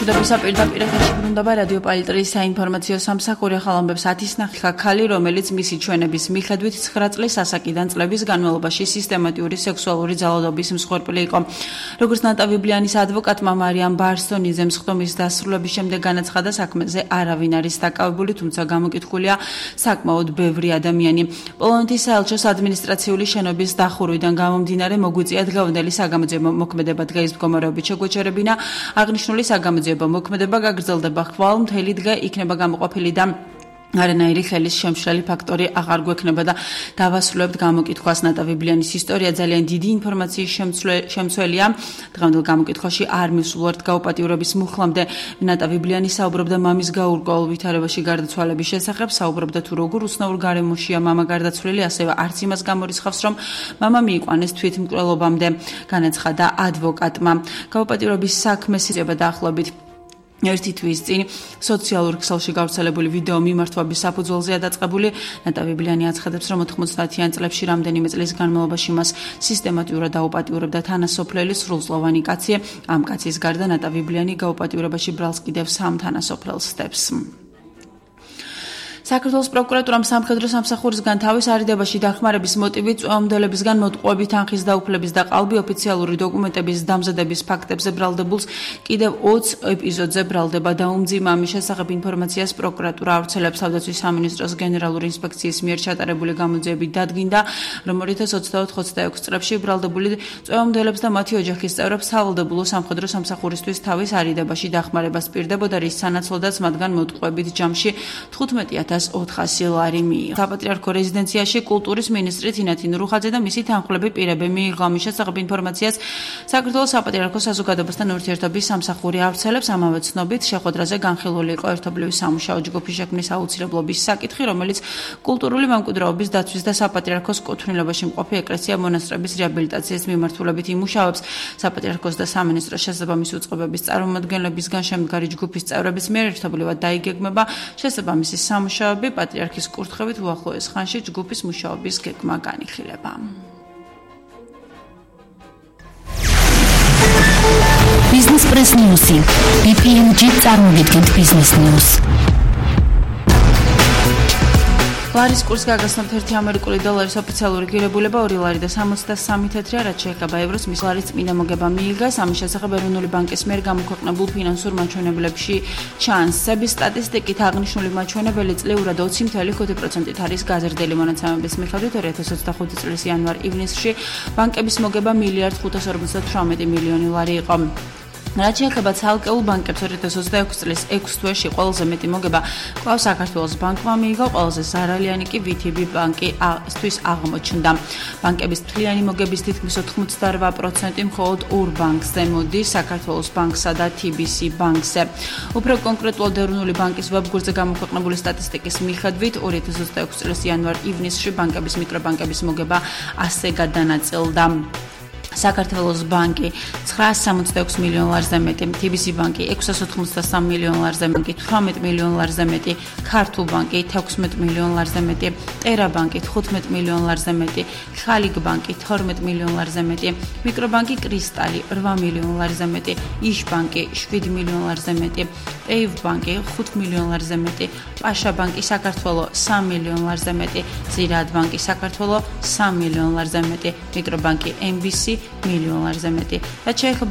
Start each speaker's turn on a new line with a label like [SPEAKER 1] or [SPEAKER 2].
[SPEAKER 1] მშვიდობისა პირდაპირ ეთერში ბრუნდება რადიო პალიტრის საინფორმაციო სამსახური ახალამბებს 10-ის ნახიხა ქალი, რომელიც მისი ჩვენების მიხედვით 9 წლის ასაკიდან წლების განმავლობაში სისტემატიური სექსუალური ძალადობის მსხვერპლი იყო. Როგორც ნატავიბლიანის ადვოკატმა მარიამ ბარსონიძემ სხდომის დასრულების შემდეგ განაცხადა, საქმეზე არავინ არის დაკავებული, თუმცა გამოკითხულია საკმაოდ ბევრი ადამიანი. პოლონეთის საელჩოს ადმინისტრაციული შენობის დახურვიდან გამომდინარე მოგვიწია დღევანდელი საგამოძიებო მოქმედება დღეის მდგომარეობით შეგვეჩერებინა. აღნიშნული საგამოძიებო მოქმედება გაგრძელდება ხვალ მთელი დღე იქნება გამოყოფილი და არანაირი ხელის შემშლელი ფაქტორი აღარ გვექნება და დავასრულებთ გამოკითხვას. ნატავიბლიანის ისტორია ძალიან დიდი ინფორმაციის შემცველია. დღევანდელ გამოკითხვაში არ მივსულვართ გაუპატიურების მუხლამდე. ნატავიბლიანი საუბრობდა მამის გაურკვეველ ვითარებაში გარდაცვალების შესახებ, საუბრობდა თუ როგორ უცნაურ გარემოშია მამა გარდაცვლილი, ასევე არც იმას გამორიცხავს, რომ მამა მიიყვანეს თვითმკვლელობამდე. განაცხადა ადვოკატმა. გაუპატიურების საქმეს იწება დაახლოებით ერთი თვის წინ სოციალურ ქსელში გავრცელებული ვიდეო მიმართვების საფუძველზეა დაწყებული. ნატავიბლიანი აცხადებს, რომ 90-იან წლებში რამდენიმე წლის განმავლობაში მას სისტემატურად დაუპატიურებდა თანასოფლელი სრულწლოვანი კაცი. ამ კაცის გარდა ნატავიბლიანი გაუპატიურებაში ბრალს კიდევ 3 თანასოფლელს სტებს. საქართველოს პროკურატურამ სამხედრო სამსახურისგან თავის არიდებაში დახმარების მოტივით წვეომდელებისგან მოტყუებით თანხის დაუფლების და ყალბი ოფიციალური დოკუმენტების დამზადების ფაქტებზე ბრალდებულს კიდევ 20 ეპიზოდზე ბრალდება დაუმძიმა. ამის შესახებ ინფორმაციას პროკურატურა ავრცელებს. თავდაცვის სამინისტროს გენერალური ინსპექციის მიერ ჩატარებული გამოძიებით დადგინდა, რომ 2024-26 წლებში ბრალდებული წვეომდელებს და მათი ოჯახის წევრებს სავალდებულო სამხედრო სამსახურისთვის თავის არიდებაში დახმარებას პირდებოდა, რის სანაცვლოდაც მათგან მოტყუებით ჯამში 15,400 ლარი მიიღო. საპატრიარქო რეზიდენციაში კულტურის მინისტრი თინათინ რუხაძე და მისი თანხმლები პირები მიიღო. ამის შესახებ ინფორმაციას საქართველოს საპატრიარქო საზოგადოებასთან ურთიერთობის სამსახური ავრცელებს. ამავე ცნობით, შეხვედრაზე განხილული იყო ერთობლივი სამუშაო ჯგუფის შექმნის აუცილებლობის საკითხი, რომელიც კულტურული მემკვიდრეობის დაცვის და საპატრიარქოს კუთვნილებაში მყოფი ეკლესია მონასტრების რეაბილიტაციის მიმართულებით იმუშავებს. საპატრიარქოს და სამინისტროს შესაბამისი უწყებების წარმომადგენლებისგან შემდგარი ჯგუფის წევრების მიერ ერთობლივად დაიგეგმება შესაბამისი სამუშაოები. პატრიარქის კურთხევით უახლოეს ხანში ჯგუფის მუშაობის გეგმა განიხილება.
[SPEAKER 2] Business Press News. BPMG წარმოგიდგენთ Business News.
[SPEAKER 1] ლარის კურსს გაგაცნობთ 1 ამერიკული დოლარის ოფიციალური ღირებულება 2 ლარი და 63 თეთრია, რაც შეეხება ევროს, მის ლარის წმინდა მოგება მიიღეს. ამის შესახებ ეროვნული ბანკის მიერ გამოქვეყნებულ ფინანსურ მაჩვენებლებში ჩანს. სების სტატისტიკით აღნიშნული მაჩვენებელი წლიურად 20.5%-ით არის გაზრდილი. მონაცემების მიხედვით 2025 წლის იანვარ-ივნისში ბანკების მოგება 1,558 მილიონი ლარი იყო. რაც შეეხება ცალკეულ ბანკებს 2026 წლის 6 თვეში ყველაზე მეტი მოგება კვლავ საქართველოს ბანკმა მიიღო, ყველაზე ზარალიანი კი VTB ბანკისთვის აღმოჩნდა. ბანკების მთლიანი მოგების თითქმის 88% მხოლოდ ორ ბანკზე მოდის, საქართველოს ბანკსა და TBC ბანკზე. უფრო კონკრეტულად ეროვნული ბანკის ვებგვერდზე გამოქვეყნებული სტატისტიკის მიხედვით 2026 წლის იანვარ-ივნისში ბანკების მიკრობანკების მოგება ასე გადანაწილდა. საქართველოს ბანკი 966 მილიონ ლარზე მეტი, TBC ბანკი 683 მილიონ ლარზე მეტი, 18 მილიონ ლარზე მეტი, ქართულ ბანკი 16 მილიონ ლარზე მეტი, ტერა ბანკი 15 მილიონ ლარზე მეტი, ხალიგ ბანკი 12 მილიონ ლარზე მეტი, მიკრობანკი კრისტალი 8 მილიონ ლარზე მეტი, იშ ბანკი 7 მილიონ ლარზე მეტი, პეივ ბანკი 5 მილიონ ლარზე მეტი, პაშა ბანკი საქართველოს 3 მილიონ ლარზე მეტი, ზირად ბანკი საქართველოს 3 მილიონ ლარზე მეტი, მიკრობანკი MBC მილიონ ლარზე მეტი. რაც შეეხება